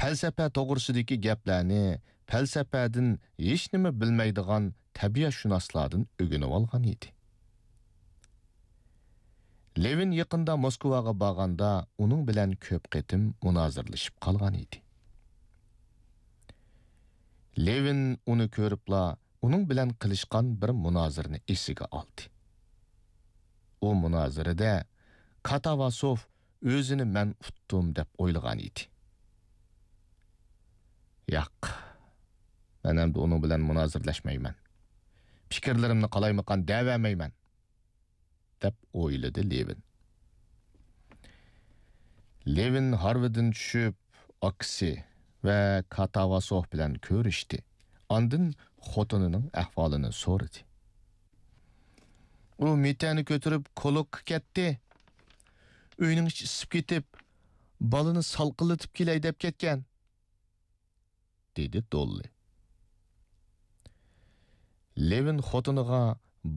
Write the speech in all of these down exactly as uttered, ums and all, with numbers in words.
پەلسەپە توغرىسىدىكى گەپلەرنى پەلسەپەدىن ھېچنېمە بىلمەيدىغان تەبىئەتشۇناسلاردىن ئۆگىنىۋالغان ئىدى. لېۋىن يېقىندا موسكۋاغا بارغاندا ئۇنىڭ بىلەن كۆپ قېتىم مۇنازىرىلىشىپ قالغان ئىدى. لېۋىن ئۇنى كۆرۈپلا ئۇنىڭ بىلەن قىلىشقان بىر مۇنازىرىنى ئېسىگە ئالدى. ئۇ مۇنازىرىدە كاتاۋاسوف ئۆزىنى مەن ئۇتتۇم دەپ ئويلىغان ئىدى. ياق، مەن ئەمدى ئۇنىڭ بىلەن مۇنازىرىلەشمەيمەن. پىكىرلىرىمنى قالايمىقان دەۋەرمەيمەن، دەپ ئويلىدى لېۋىن. لېۋىن ھارۋىدىن چۈشۈپ، ئاكىسى ۋە كاتاۋاسوف بىلەن كۆرۈشتى. ئاندىن خوتۇنىنىڭ ئەھۋالىنى سورىدى. ئۇ مىتەنى كۆتۈرۈپ كولوككا كەتتى. ئۆينىڭ ئىچى ئىسسىپ كېتىپ، بالىنى سالقىنلىتىپ كېلەي دەپ كەتكەن، دېدى دوللى. لېۋىن خوتۇنىغا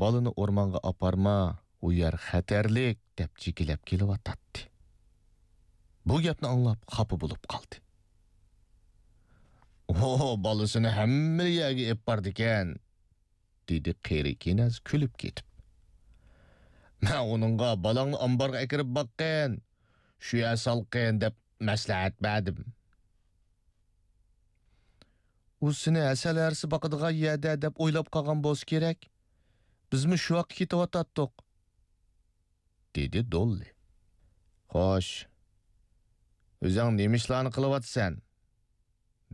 بالىنى ئورمانغا ئاپارما، ئۇ يەر خەتەرلىك، دەپ جېكىلەپ كېلىۋاتاتتى. بۇ گەپنى ئاڭلاپ خاپا بولۇپ قالدى. ئۇ بالىسىنى ھەممە يەرگە ئېلىپ بارىدىكەن، دېدى قېرى كېنەز كۈلۈپ كېتىپ. مەن ئۇنىڭغا بالاڭنى ئامبارغا ئەكىرىپ باققىن، شۇ يەر سالقىن دەپ مەسلىھەت بەردىم. ئۇ سېنى ھەسەل ھەرىسى باقىدىغان يەردە دەپ ئويلاپ قالغان بولسا كېرەك. بىزمۇ شۇ ياققا كېتىۋاتاتتۇق، دېدى دوللى. خوش، ئۆزۈڭ نېمە ئىشلارنى قىلىۋاتىسەن؟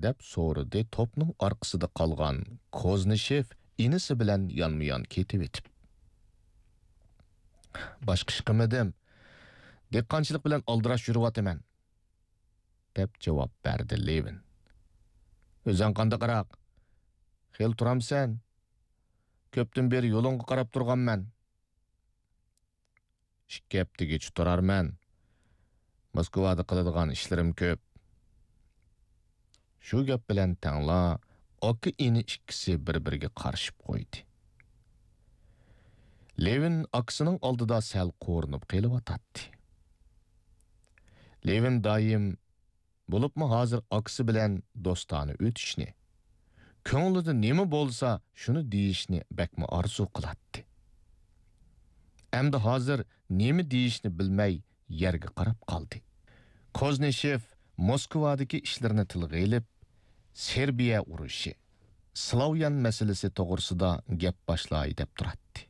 دەپ سورىدى توپنىڭ ئارقىسىدا قالغان كوزنىشېف ئىنىسى بىلەن يانمۇيان كېتىۋېتىپ. باشقا ئىش قىلمىدىم. دېھقانچىلىق بىلەن ئالدىراش يۈرۈۋاتىمەن، دەپ جاۋاب بەردى لېۋىن. ئۆزۈڭ قانداقراق؟ خېلى تۇرامسەن؟ كۆپتىن بېرى يولۇڭغا قاراپ تۇرغانمەن. ئىككى ھەپتىگىچە تۇرارمەن. موسكۋادا قىلىدىغان ئىشلىرىم كۆپ. شۇ گەپ بىلەن تەڭلا ئاكا-ئىنى ئىككىسى بىر-بىرىگە قارىشىپ قويدى. لېۋىن ئاكىسىنىڭ ئالدىدا سەل قورۇنۇپ قېلىۋاتاتتى. لېۋىن دائىم، بولۇپمۇ ھازىر ئاكىسى بىلەن دوستانە ئۆتۈشنى، كۆڭلىدە نېمە بولسا شۇنى دېيىشنى بەكمۇ ئارزۇ قىلاتتى. ئەمدى ھازىر نېمە دېيىشنى بىلمەي يەرگە قاراپ قالدى. كوزنىشېف موسكۋادىكى ئىشلىرىنى تىلغا ئېلىپ، سېربىيە ئۇرۇشى، سلاۋيان مەسىلىسى توغرىسىدا گەپ باشلاي دەپ تۇراتتى.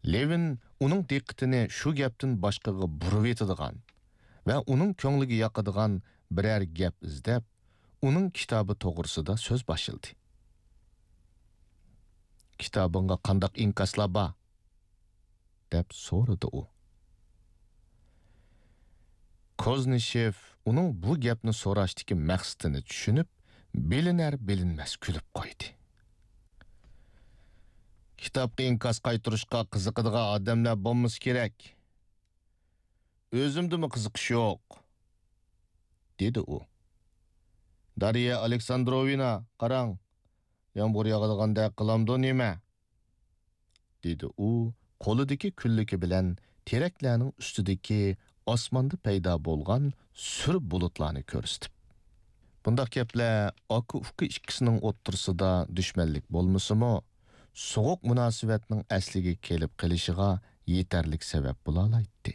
لېۋىن ئۇنىڭ دىققىتىنى شۇ گەپتىن باشقىغا بۇرۇۋېتىدىغان ۋە ئۇنىڭ كۆڭلىگە ياقىدىغان بىرەر گەپ ئىزدەپ، ئۇنىڭ كىتابى توغرىسىدا سۆز باشلىدى. «كىتابىڭغا قانداق ئىنكاسلار بار؟» دەپ سورىدى ئۇ. كوزنىشېف ئۇنىڭ بۇ گەپنى سوراشتىكى مەقسىتىنى چۈشىنىپ، بىلىنەر-بىلىنمەس كۈلۈپ قويدى. «كىتابقا ئىنكاس قايتۇرۇشقا قىزىقىدىغان ئادەملەر بولمىسا كېرەك. ئۆزۈمدىمۇ قىزىقىش يوق»، دېدى ئۇ. «دارىيا ئالېكساندروۋنا، قاراڭ، يامغۇر ياغىدىغاندەك قىلامدۇ نېمە؟» دېدى ئۇ قولىدىكى كۈنلۈكى بىلەن تېرەكلەرنىڭ ئۈستىدىكى ئاسماندا پەيدا بولغان سۈر بۇلۇتلارنى كۆرسىتىپ. بۇنداق گەپلەر ئاكا-ئۇكا ئىككىسىنىڭ ئوتتۇرىسىدا دۈشمەنلىك بولمىسىمۇ، سوغۇق مۇناسىۋەتنىڭ ئەسلىگە كېلىپ قېلىشىغا يېتەرلىك سەۋەب بولالايتتى.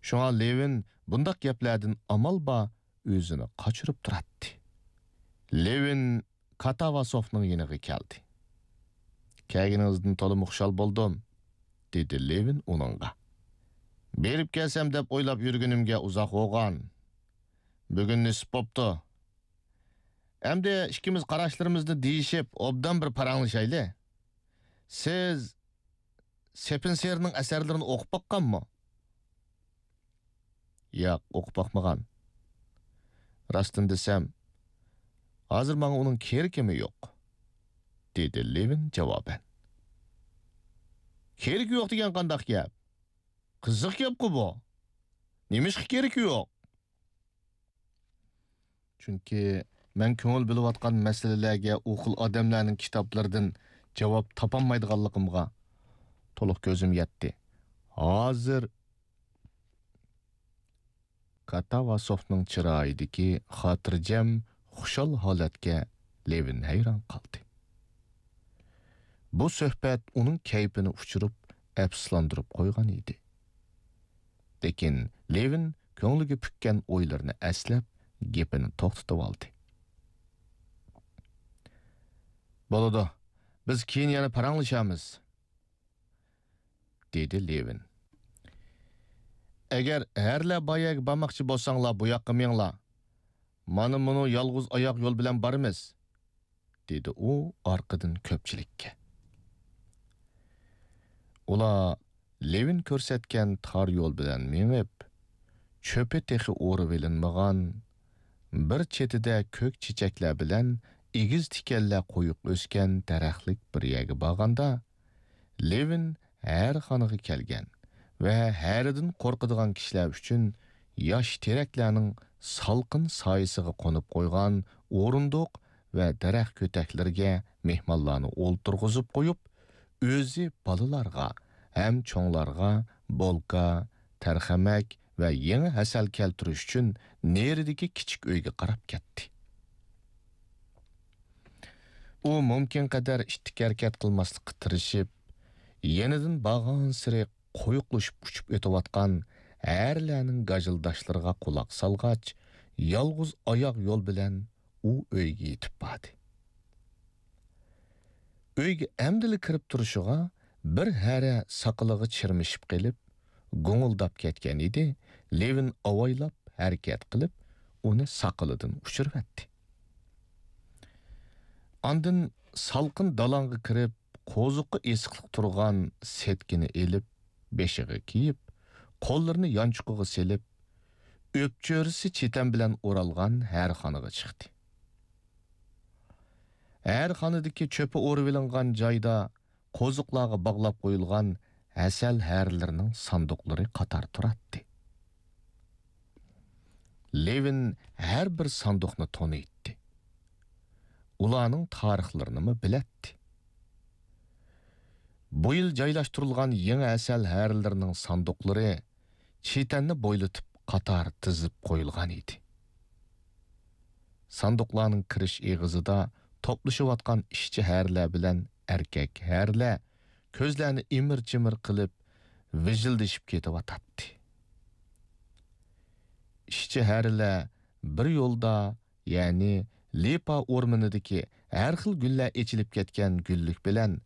شۇڭا لېۋىن بۇنداق گەپلەردىن ئامال بار ئۆزىنى قاچۇرۇپ تۇراتتى. لېۋىن كاتاۋاسوفنىڭ يېنىغا كەلدى. «كەلگىنىڭىزدىن تولىمۇ خۇشال بولدۇم»، دېدى لېۋىن ئۇنىڭغا. «بېرىپ كەلسەم دەپ ئويلاپ يۈرگىنىمگە ئۇزاق بولغان. بۈگۈن نېسىپ بوپتۇ. ئەمدى ئىككىمىز قاراشلىرىمىزنى دېيىشىپ، ئوبدان بىر پاراڭلىشايلى. سىز سېپېنسېرنىڭ ئەسەرلىرىنى ئوقۇپ باققانمۇ؟» «ياق، ئوقۇپ باقمىغان. راستىنى دېسەم، ھازىر ماڭا ئۇنىڭ كېرىكىمۇ يوق»، دېدى لېۋىن جاۋابەن. «كېرىكى يوق دېگەن قانداق گەپ؟ قىزىق گەپقۇ بۇ. نېمىشقا كېرىكى يوق؟» چۈنكى مەن كۆڭۈل بۆلۈۋاتقان مەسىلىلەرگە ئۇ خىل ئادەملەرنىڭ كىتابلىرىدىن جاۋاب تاپالمايدىغانلىقىمغا تولۇق كۆزۈم يەتتى. ھازىر كاتاۋاسوفنىڭ چىرايىدىكى خاتىرجەم، خۇشال ھالەتكە لېۋىن ھەيران قالدى. بۇ سۆھبەت ئۇنىڭ كەيپىنى ئۇچۇرۇپ، ئەپسۇسلاندۇرۇپ قويغان ئىدى. لېكىن لېۋىن كۆڭلىگە پۈككەن ئويلىرىنى ئەسلەپ، گېپىنى توختىتىۋالدى. «بولىدۇ، بىز كېيىن يەنە پاراڭلىشارمىز.» دېدى لېۋىن. «ئەگەر ھەرىلەر بار يەرگە بارماقچى بولساڭلار، بۇ ياققا مېڭىڭلار. مانا مۇنۇ يالغۇز ئاياق يول بىلەن بارىمىز.» دېدى ئۇ ئارقىدىن كۆپچىلىككە. ئۇلار لېۋىن كۆرسەتكەن تار يول بىلەن مېڭىپ، چۆپى تېخى ئورۇۋېلىنمىغان، بىر چېتىدە كۆك چېچەكلەر بىلەن ئېگىز تىكەنلەر قويۇق ئۆسكەن دەرەخلىك بىر يەرگە بارغاندا، لېۋىن ھەرىخانىغا كەلگەن ۋە ھەرىدىن قورقىدىغان كىشىلەر ئۈچۈن ياش تېرەكلەرنىڭ سالقىن سايىسىغا قونۇپ قويغان ئورۇندۇق ۋە دەرەخ كۆتەكلىرىگە مېھمانلارنى ئولتۇرغۇزۇپ قويۇپ، ئۆزى بالىلارغا ھەم چوڭلارغا بولكا، تەرخەمەك ۋە يېڭى ھەسەل كەلتۈرۈش ئۈچۈن نېرىدىكى كىچىك ئۆيگە قاراپ كەتتى. ئۇ مۇمكىنقەدەر ئىتتىك ھەرىكەت قىلماسلىققا تىرىشىپ، يېنىدىن بارغانسېرى قويۇقلىشىپ ئۇچۇپ ئۆتۈۋاتقان ھەرىلەرنىڭ گاژىلداشلىرىغا قۇلاق سالغاچ، يالغۇز ئاياغ يول بىلەن ئۇ ئۆيگە يېتىپ باردى. ئۆيگە ئەمدىلا كىرىپ تۇرۇشىغا، بىر ھەرە ساقىلىغا چىرمىشىپ قېلىپ، گۇڭۇلداپ كەتكەن ئىدى. لېۋىن ئاۋايلاپ ھەرىكەت قىلىپ، ئۇنى ساقىلىدىن ئۇچۇرۇۋەتتى. ئاندىن سالقىن دالاڭغا كىرىپ، قوزۇققا ئېسىقلىق تۇرغان سەتكىنى ئېلىپ، بېشىغا كىيىپ، قوللىرىنى يانچۇقىغا سېلىپ، ئۆپچۆرىسى چېتەن بىلەن ئورالغان ھەرىخانىغا چىقتى. ھەرىخانىدىكى چۆپى ئورۇۋېلىنغان جايدا قوزۇقلارغا باغلاپ قويۇلغان ھەسەل ھەرىلىرىنىڭ ساندۇقلىرى قاتار تۇراتتى. لېۋىن ھەر بىر ساندۇقنى تونۇيتتى. ئۇلارنىڭ تارىخلىرىنىمۇ بىلەتتى. بۇ يىل جايلاشتۇرۇلغان يېڭى ھەسەل ھەرىلىرىنىڭ ساندۇقلىرى چېتەننى بويلىتىپ قاتار تىزىپ قويۇلغان ئىدى. ساندۇقلارنىڭ كىرىش ئېغىزىدا توپلىشىۋاتقان ئىشچى ھەرىلەر بىلەن ئەركەك ھەرىلەر كۆزلەرنى ئىمىر-چىمىر قىلىپ، ۋىژىلدىشىپ كېتىۋاتاتتى. ئىشچى ھەرىلەر بىر يولدا، يەنى لىپا ئورمىنىدىكى ھەر خىل گۈللەر ئېچىلىپ كەتكەن گۈللۈك بىلەن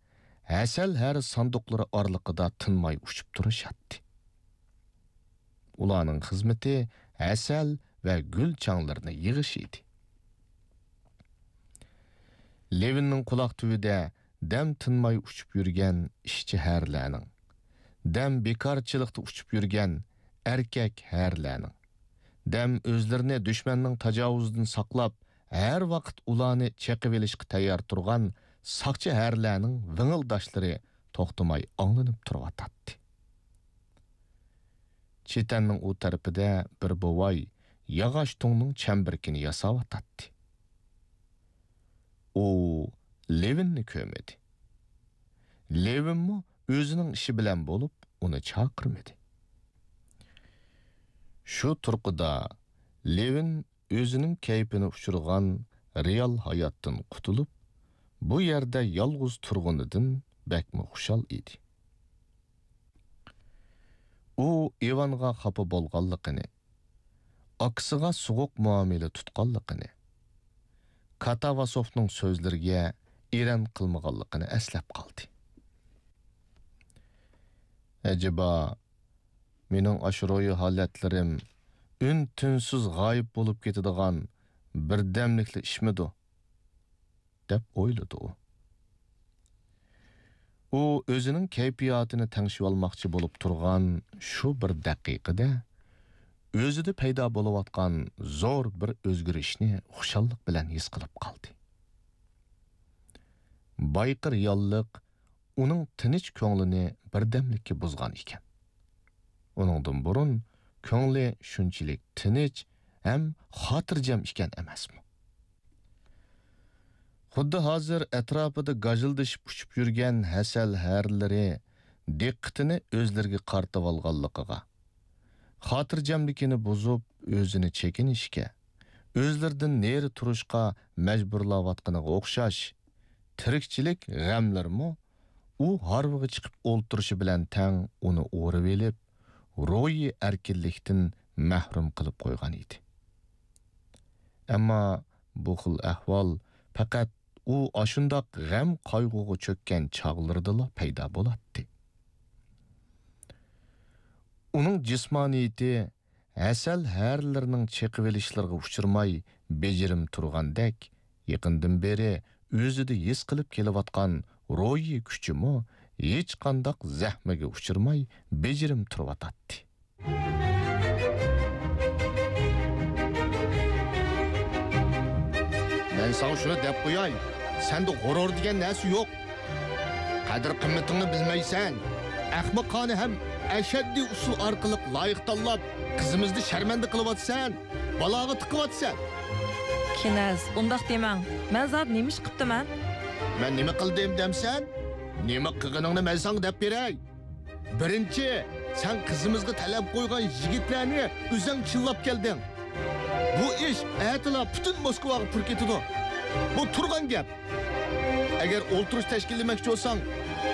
ھەسەل ھەرە ساندۇقلىرى ئارىلىقىدا تىنماي ئۇچۇپ تۇرۇشاتتى. ئۇلارنىڭ خىزمىتى ھەسەل ۋە گۈل چاڭلىرىنى يىغىش ئىدى. لېۋىننىڭ قۇلاق تۈۋىدە دەم تىنماي ئۇچۇپ يۈرگەن ئىشچى ھەرىلەرنىڭ، دەم بىكارچىلىقتا ئۇچۇپ يۈرگەن ئەركەك ھەرىلەرنىڭ، دەم ئۆزلىرىنى دۈشمەننىڭ تاجاۋۇزىدىن ساقلاپ، ھەر ۋاقىت ئۇلارنى چېقىۋېلىشقا تەييار تۇرغان ساقچى ھەرىلەرنىڭ ۋىڭىلداشلىرى توختىماي ئاڭلىنىپ تۇرۇۋاتاتتى. چېتەننىڭ ئۇ تەرىپىدە بىر بوۋاي ياغاچ تۇڭنىڭ چەمبىرىكىنى ياساۋاتاتتى. ئۇ لېۋىننى كۆرمىدى. لېۋىنمۇ ئۆزىنىڭ ئىشى بىلەن بولۇپ، ئۇنى چاقىرمىدى. شۇ تۇرقىدا لېۋىن ئۆزىنىڭ كەيپىنى ئۇچۇرغان رېئال ھاياتتىن قۇتۇلۇپ، بۇ يەردە يالغۇز تۇرغىنىدىن بەكمۇ خۇشال ئىدى. ئۇ ئىۋانغا خاپا بولغانلىقىنى، ئاكىسىغا سوغۇق مۇئامىلە تۇتقانلىقىنى، كاتاۋاسوفنىڭ سۆزلىرىگە ئېرەن قىلمىغانلىقىنى ئەسلەپ قالدى. ئەجەبا، مېنىڭ ئاشۇ روھىي ھالەتلىرىم ئۈن-تىنسىز غايىب بولۇپ كېتىدىغان بىردەملىكلا ئىشمىدۇ؟ دەپ ئويلىدى ئۇ. ئۇ ئۆزىنىڭ كەيپىياتىنى تەڭشىۋالماقچى بولۇپ تۇرغان شۇ بىر دەقىقىدە، ئۆزىدە پەيدا بولۇۋاتقان زور بىر ئۆزگىرىشنى خۇشاللىق بىلەن ھېس قىلىپ قالدى. بايىقى رېئاللىق ئۇنىڭ تىنچ كۆڭلىنى بىردەملىككە بۇزغان ئىكەن. ئۇنىڭدىن بۇرۇن كۆڭلى شۇنچىلىك تىنچ ھەم خاتىرجەم ئىكەن ئەمەسمۇ؟ خۇددى ھازىر ئەتراپىدا گاژىلدىشىپ ئۇچۇپ يۈرگەن ھەسەل ھەرىلىرى دىققىتىنى ئۆزلىرىگە قارىتىۋالغانلىقىغا، خاتىرجەملىكىنى بۇزۇپ، ئۆزىنى چېكىنىشكە، ئۆزلىرىدىن نېرى تۇرۇشقا مەجبۇرلاۋاتقىنىغا ئوخشاش، تىرىكچىلىك غەملىرىمۇ ئۇ ھارۋىغا چىقىپ ئولتۇرۇشى بىلەن تەڭ ئۇنى ئورىۋېلىپ، روھىي ئەركىنلىكتىن مەھرۇم قىلىپ قويغان ئىدى. ئەمما بۇ خىل ئەھۋال پەقەت ئۇ ئاشۇنداق غەم-قايغۇغا چۆككەن چاغلىرىدىلا پەيدا بولاتتى. ئۇنىڭ جىسمانىيىتى ھەسەل ھەرىلىرىنىڭ چېقىۋېلىشلىرىغا ئۇچرىماي بېجىرىم تۇرغاندەك، يېقىندىن بېرى ئۆزىدە ھېس قىلىپ كېلىۋاتقان روھىي كۈچىمۇ ھېچقانداق زەخمىگە ئۇچرىماي بېجىرىم تۇرۇۋاتاتتى. مەن ساڭا شۇنى دەپ قوياي، سەندە غۇرۇر دېگەن نەرسە يوق. قەدىر-قىممىتىڭنى بىلمەيسەن. ئەخمىقانە ھەم ئەشەددىي ئۇسۇل ئارقىلىق لايىق تاللاپ، قىزىمىزنى شەرمەندە قىلىۋاتىسەن، بالاغا تىقىۋاتىسەن. كېنەز، ئۇنداق دېمەڭ. مەن زادى نېمە ئىش قىپتىمەن؟ مەن نېمە قىلدىم دەمسەن؟ نېمە قىلغىنىڭنى مەن ساڭا دەپ بېرەي. بىرىنچى، سەن قىزىمىزغا تەلەپ قويغان يىگىتلەرنى ئۆزەڭ چىللاپ كەلدىڭ. بۇ ئىش ئەتىلا پۈتۈن موسكۋاغا پۇر كېتىدۇ. بۇ تۇرغان گەپ. ئەگەر ئولتۇرۇش تەشكىللىمەكچى بولساڭ،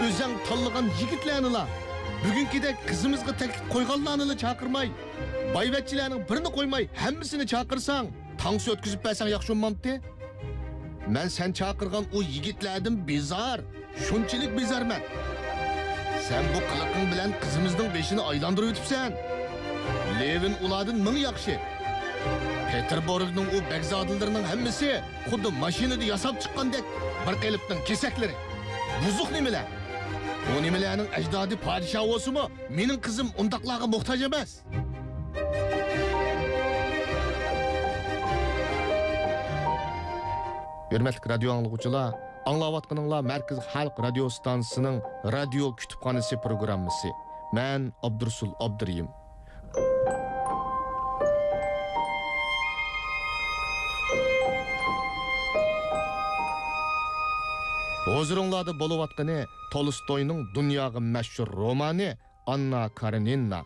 ئۆزەڭ تاللىغان يىگىتلەرنىلا، بۈگۈنكىدەك قىزىمىزغا تەكلىپ قويغانلارنىلا چاقىرماي، بايۋەچچىلەرنىڭ بىرىنى قويماي، ھەممىسىنى چاقىرساڭ، تانسا ئۆتكۈزۈپ بەرسەڭ ياخشى بولمامتى؟ مەن سەن چاقىرغان ئۇ يىگىتلەردىن بىزار، شۇنچىلىك بىزارمەن. سەن بۇ قىلىقىڭ بىلەن قىزىمىزنىڭ بېشىنى ئايلاندۇرۇۋېتىپسەن. لېۋىن ئۇلاردىن مىڭ ياخشى. پېتېربۇرگنىڭ ئۇ بەگزادىلىرىنىڭ ھەممىسى خۇددى ماشىنىدا ياساپ چىققاندەك بىر قېلىپنىڭ كېسەكلىرى. بۇزۇق نېمىلەر. ئۇ نېمىلەرنىڭ ئەجدادى پادىشاھ بولسىمۇ، مېنىڭ قىزىم ئۇنداقلارغا موھتاج ئەمەس. ھۆرمەتلىك رادىيو ئاڭلىغۇچىلار، ئاڭلاۋاتقىنىڭلار مەركىزىي خەلق رادىيو ئىستانسىسىنىڭ رادىيو كۇتۇپخانىسى پروگراممىسى. مەن ئابدۇرۇسۇل ئابدۇرېھىم. ھۇزۇرۇڭلاردا بولۇۋاتقىنى تولستوينىڭ دۇنياغا مەشھۇر رومانى ئاننا كارېنىنا.